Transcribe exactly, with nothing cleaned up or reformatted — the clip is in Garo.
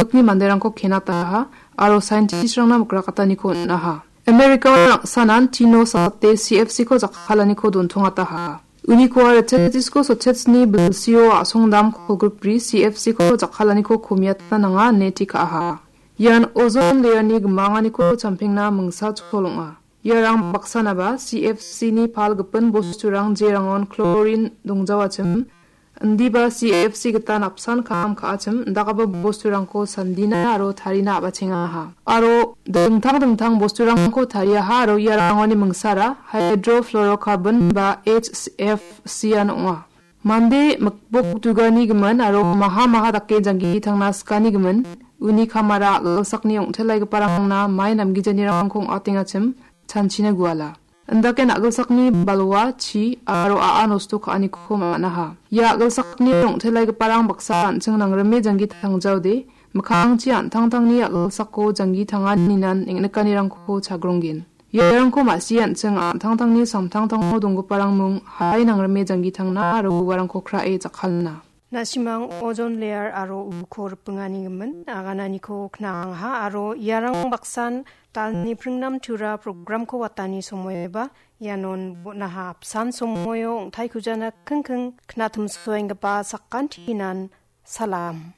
nokni manderangko kenataha aro scientistrangna mikrakataniko on·aha. Amerika rangsanan tino sate C F C-ko jakkalaniko dontongataha. Unikoa Retenetisko sotetsni bilsio a·songdam kolgrikbri C F C-ko jakkalaniko komiatna nanga ine tekaha. Ian ozon layerni gimanganiko champengna mingsa chol ong·a. Iarang baksanaba C F C-ni palgipin bosturang jerangon chlorine dongjawachim, indiba C F C gita napsan kam ka·achim, indakgipa bosturangko sandina aro tarina a·bachengaha. Aro dingtang dingtang bosturangko tariaha aro iarangoni mingsara hydrofluorocarbon ba H F C-an ong·a. Mande mikbok dugani gimin aro maha maha dake janggi tangna sikani gimin, uni kamara a·gilsakni ong·telaigiparangna mai namgijanirangko ong·atengachim chanchina guala. Indake a·gilsakni balwa, chi aro a·a nosto ka·aniko man·aha. Ia a·gilsakni ong·telaigiparang baksa an·ching nangrime janggi tangjaode, mikkangchi an·tangtangni a·gilsako janggi tanganinan eng·nikanirangko chagronggen. Iarangko ma·si an·ching an·tangtangni samtangtango donggiparang mung hai nangrime janggi tangna aro uarangko krae jakkalna. Na·simang ozon layer aro uko ripingani gimin agananiko kna·angaha aro iarang baksan dalni pringnam tura programko watani somoiba ianon bon·aha. Apsan somoio ong·taikujana kingking knatimsoenggipa sakantinan salam.